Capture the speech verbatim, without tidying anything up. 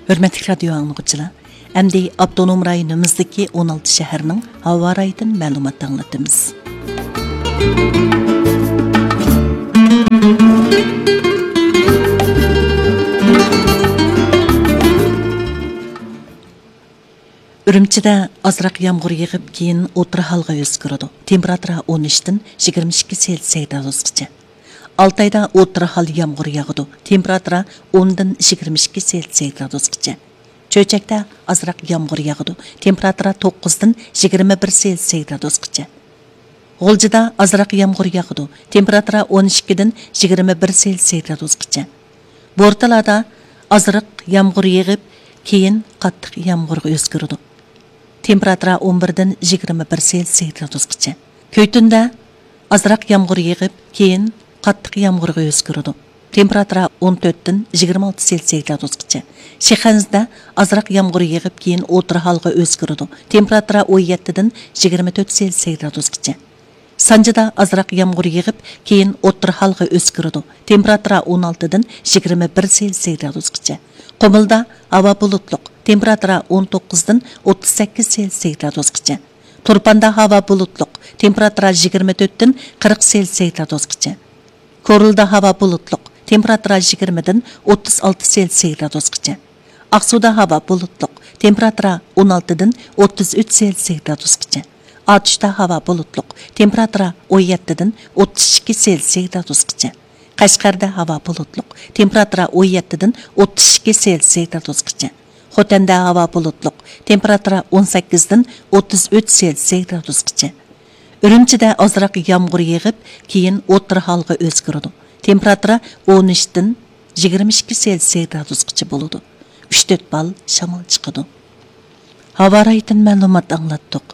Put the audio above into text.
ھۆرمەتلىك رادىيو ئاڭلىغۇچىلار، ئەمدى ئاپتونوم رايونىمىزدىكى ئون ئالتە شەھەرنىڭ ھاۋا رايىدىن مەلۇمات ئاڭلىتىمىز. ئۈرۈمچىدە ئازراق يامغۇر يېغىپ، كېيىن ئوتتۇرا ھالغا ئۆزگىرىدۇ. تېمپېراتۇرا ئون ئۈچتىن يىگىرمە ئىككى سېلسىيە گرادۇسقىچە. ئالتايدا ئوتتۇرا ھال يامغۇر ياغىدۇ. تېمپېراتۇرا ئوندىن يىگىرمە ئىككى سېلسىيە گرادۇسقىچە. چۆچەكتە ئازراق يامغۇر ياغىدۇ. تېمپېراتۇرا توققۇزدىن يىگىرمە بىر سېلسىيە گرادۇسقىچە. غۇلجىدا ئازراق يامغۇر ياغىدۇ. تېمپېراتۇرا ئون ئىككىدىن يىگىرمە بىر سېلسىيە گرادۇسقىچە. بورتالادا ئازراق يامغۇر يېغىپ، كېيىن قاتتىق يامغۇرغا ئۆزگىرىدۇ. تېمپېراتۇرا ئون بىردىن يىگىرمە بىر سېلسىيە گرادۇسقىچە. كۆيتۈندە ئازراق يامغۇر يېغىپ، كېيىن قاتتىق يامغۇرغا ئۆزگىرىدۇ. تېمپېراتۇرا ئون تۆتتىن يىگىرمە ئالتە سېلسىيە گرادۇسقىچە. شىخەنزىدە ئازراق يامغۇر يېغىپ، كېيىن ئوتتۇرا ھالغا ئۆزگىرىدۇ. تېمپېراتۇرا ئون يەتتىدىن يىگىرمە تۆت سېلسىيە گرادۇسقىچە. سانجىدا ئازراق يامغۇر يېغىپ، كېيىن ئوتتۇرا ھالغا ئۆزگىرىدۇ. تېمپېراتۇرا ئون ئالتىدىن يىگىرمە بىر سېلسىيە گرادۇسقىچە. قۇمۇلدا ھاۋا بۇلۇتلۇق. تېمپېراتۇرا ئون توققۇزدىن ئوتتۇز سەككىز سېلسىيە گرادۇسقىچە. تۇرپاندا ھاۋا بۇلۇتلۇق. تېمپېراتۇرا يىگىرمە تۆتتىن قىرىق سېلسىيە گرادۇسقىچە. كورلىدا ھاۋا بۇلۇتلۇق. تېمپېراتۇرا يىگىرمىدىن ئوتتۇز ئالتە سېلسىيە گرادۇسقىچە. ئاقسۇدا ھاۋا بۇلۇتلۇق. تېمپېراتۇرا ئون ئالتىدىن ئوتتۇز ئۈچ سېلسىيە گرادۇسقىچە. ئاتۇشتا ھاۋا بۇلۇتلۇق. تېمپېراتۇرا ئون يەتتىدىن ئوتتۇز ئىككى سېلسىيە گرادۇسقىچە. قەشقەردە ھاۋا بۇلۇتلۇق. تېمپېراتۇرا ئون يەتتىدىن ئوتتۇز ئىككى سېلسىيە گرادۇسقىچە. خوتەندە ھاۋا بۇلۇتلۇق. تېمپېراتۇرا ئون سەككىزدىن ئوتتۇز ئۈچ سېلسىيە گرادۇسقىچە. ئۈرۈمچىدە ئازراق يامغۇر يېغىپ، كېيىن ئوتتۇرا ھالغا ئۆزگىرىدۇ. تېمپېراتۇرا ئون ئۈچتىن يىگىرمە ئىككى سېلسىيە گرادۇسقىچە بولىدۇ. ئۈچ تۆت بال شامال چىقىدۇ. ھاۋا رايىدىن مەلۇمات ئاڭلاتتۇق.